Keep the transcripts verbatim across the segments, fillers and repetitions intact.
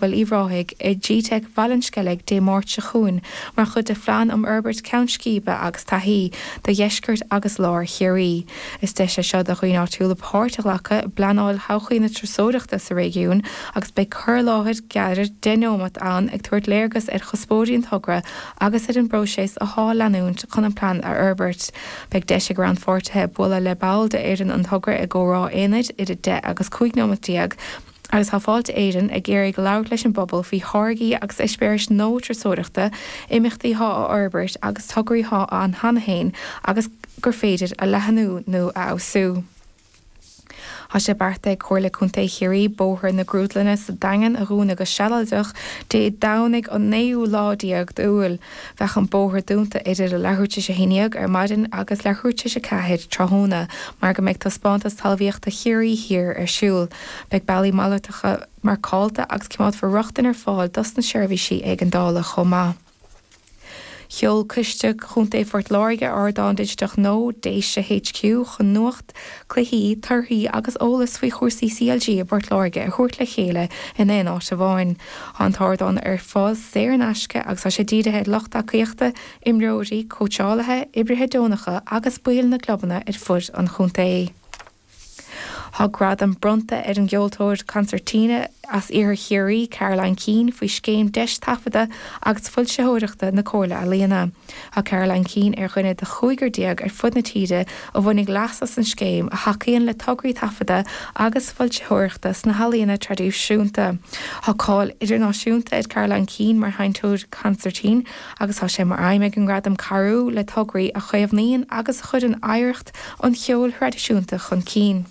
Uíbh Ráthaigh i gteic Bhaile an Sceilg Dé Máirt seo chugainn mar chuid de phlean um fhorbairt ceann scríbe agus taithí do dheisceart agus lár Chiarraí. Is deis é seo do dhaoine áitiúla páirt a ghlacadh i bpleanáil thodhchaí na turasóireachta sa réigiún agus beidh cur i láthair gearr deich nóiméad ann ag tabhairt léargas ar chuspóirí an togra agus ar an bpróiseas atá le leanúint chun an plean a fhorbairt. Beidh deis ag rannpháirtithe bualadh le ball de fhoireann an togra i gcomhrá aonair idir deich agus cúig nóiméad déag agus tá Fáilte Éireann ag iarraidh labhairt leis an bpobal faoi tháirgí agus eispéiris nua turasóireachta, imeachtaí atá á bhforbairt agus tograí atá ann cheana féin agus gur féidir a leathnú nó a fheabhsú. Tá sé beartaithe ag Comhairle Contae Chiarraí Bóthar na Grúdlainne sa Daingean a dhúnadh go sealadach Dé Domhnaigh an naoú lá déag d'Iúil. Bheadh an bóthar dúnta idir a leathuair tar éis a haon déag ar maidin agus leathuair tar éis a ceathair tráthnóna mar go mbeidh taispeántas talmhaíochta Chiarraí Thiar ar siúl. Beidh bealaí malartacha marcáilte agus coimeádfar rochtain ar fáil dos na seirbhísí éigeandála chomh maith. Sheol Coiste Chontae Phort Láirge ardán digiteach nua Déise HQ chun nuacht, cluichí, torthaí agus eolas faoi chúrsaí CLG i bPort Láirge a thabhairt le chéile in aon áit amháin. An t-ardán ar fáil saor in aisce agus tá sé dírithe ar lucht tacaíochta, imreoirí, cóitseálaithe, oibrithe deonacha agus baill na gclubanna ar fud an chontae. Tá gradam bronnta ar an gceoltóir consairtín as Iarthar Chiarraí Caroline Keane faoi scéim deis taifeadta agus foilsitheoireachta na Comhairle Ealaíon. Tá Caroline Keane ar dhuine de chúigear déag ar fud na tíre a bhainfidh leas as an scéim a thacaíonn le tograí taifeadta agus foilsitheoireachta sna healaíona traidisiúnta. Tá cáil idirnáisiúnta ar Caroline Keane mar sheinnteoir consairtín agus tá sé mar aidhm ag an ngradam cabhrú le tograí a chaomhnaíonn agus a chuireann oidhreacht an cheoil thraidisiúnta chun cinn.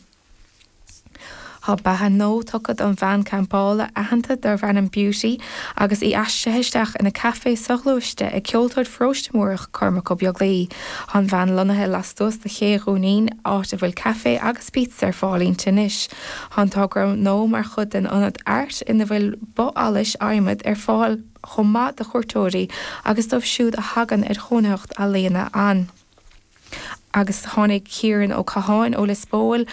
Tá beatha nua tugtha don veain campála aitheanta darb ainm Beauty agus í aistrithe isteach ina caife soghluaiste ag ceoltóir Pharóiste Múrach Cormac Ó Beaglaoi. Tá an veain lonnaithe lastuas de Ché Dhún Fhinn áit a bhfuil caife agus pizza ar fáil inti anois. Tá an togra nua mar chuid den ionad Art ina bhfuil both allais adhmaid ar fáil chomh maith do chuairteoirí agus dóibh siúd a thagann ar chónaitheacht ealaíona ann. Agus tháinig Ciarán Ó Catháin ó Lios Póil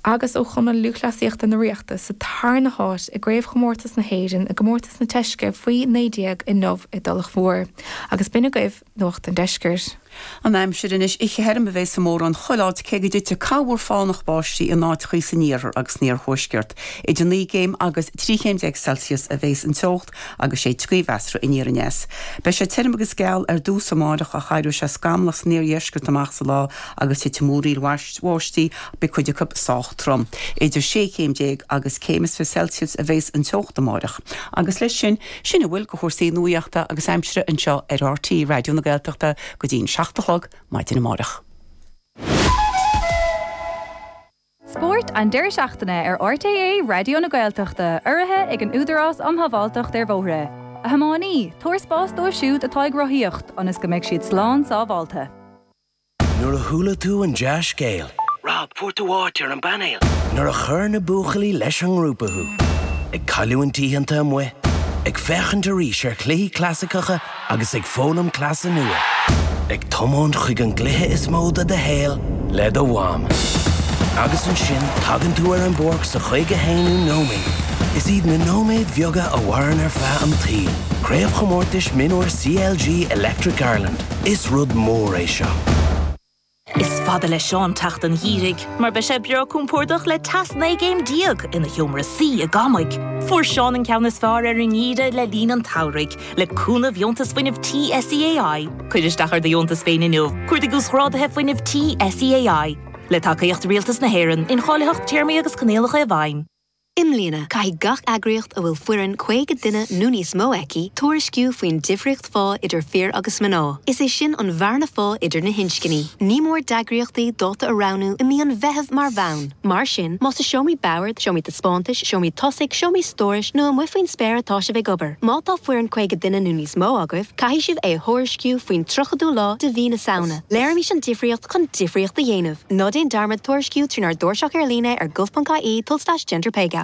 agus ó Chumann Lúthchleasaíochta na Ríochta sa tarna háit i gcraobhchomórtas na hÉireann i gcomórtas na teisce faoi naoi déag inniu i dTulach Mhór. Agus b'in agaibh nuacht an deiscirt. An aimsir anois oíche thirim a bheas i mórán chuile áit cé go dtitfidh corrmhúr fánach báistí in áiteachaí san iarthar agus san iarthuaisceart. Idir naoi gcéim agus trí chéim déag Celsius a bheas an teocht agus sé gaoth mheasartha aniar aneas. Beidh sé tirim agus geal ar dtús amárach ach éireoidh sé scamallach san iardheisceart amach sa lá agus titfidh múraíl bháistí beidh cuid acu sách trom. Idir sé chéim déag agus céim is fiche Celsius a bheas an teocht amárach. Agus leis sin sin a bhfuil de chúrsaí nuachta agus aimsire anseo ar RTÉ Raidió na Gaeltachta go dtí an seacht a chlog maidin amárach. Spórt an deireadh seachtaine ar RTÉ Raidió na Gaeltachta urraithe ag an Údarás um Shábháilteacht ar Bhóithre. A thiománaí, tabhair spás dóibh siúd atá ag rothaíocht ionas go mbeidh siad slán sábháilte. Nuair a chuala tú an dea-scéal. Rob, fuair tú áit ar an bpainéal. Nuair a chuir na buachaillí leis an ngrúpa thú. Ag cailliúint oícheanta amuigh, ag féachaint arís ar chluichí clasaiceacha agus ag foghlaim cleasa nua. Ag tiomáint chuig an gcluiche is mó de do shaol le do mham. Agus ansin tagann tú ar an bpáirc sa chaoga haonú nóiméad. Is iad na nóiméid bheaga a mhaireann ar feadh an tsaoil. Craobhchomórtais Mionúr CLG Electric Ireland. Is rud mór é seo. Is fada le Seán teacht an gheimhridh, mar beidh sé breá compordach le teas naoi gcéim déag ina sheomra suí i gCamaigh. Fuair Seán an ceann is fearr ar an ngeimhreadh le linn an tsamhraidh, le cúnamh dheontas fuinnimh tí SEAI. Cuir isteach ar do dheontas féin inniu, cuardaigh uasghráduithe fuinnimh tí SEAI. Le tacaíocht Rialtas na hÉireann, incháilitheacht téarmaí agus coinníollacha i bhfeidhm. I mbliana, caithfidh gach eagraíocht a bhfuil foireann caoga duine nó níos mó aici tuairisciú faoin difríocht phá idir fir agus mná. Is é sin an bhearna phá idir na hinscní. Ní mór d'eagraíochtaí dáta a roghnú i mí an Mheithimh mar bhonn. Mar sin, más i seomraí boird, seomraí taispeántais, seomraí tosaigh, seomraí stórais nó amuigh faoin spéir atá sibh ag obair. Má tá foireann caoga duine nó níos mó agaibh, caithfidh sibh é a thuairisciú faoin tríochadú lá de mhí na Samhna. Léirímis an difríocht chun difríocht a dhéanamh. Ná déan dearmad tuairisciú trínár dtairseach ar líne ar gov.ie tulslais gender pay gap.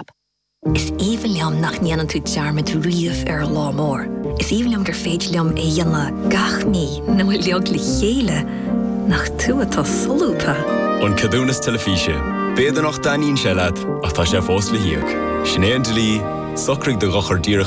Is aoibhinn liom nach ndéanann tú dearmad riamh ar an lá mór. Is aoibhinn liom gur féidir liom é dhéanamh gach mí nó uilig le chéile nach tú atá solúbtha. An ceadúnas teilifíse. B'fhéidir nach dtaitníonn sé leat ach tá sé fós le híoc. Sin é an dlí, Socraigh do dhochar díreach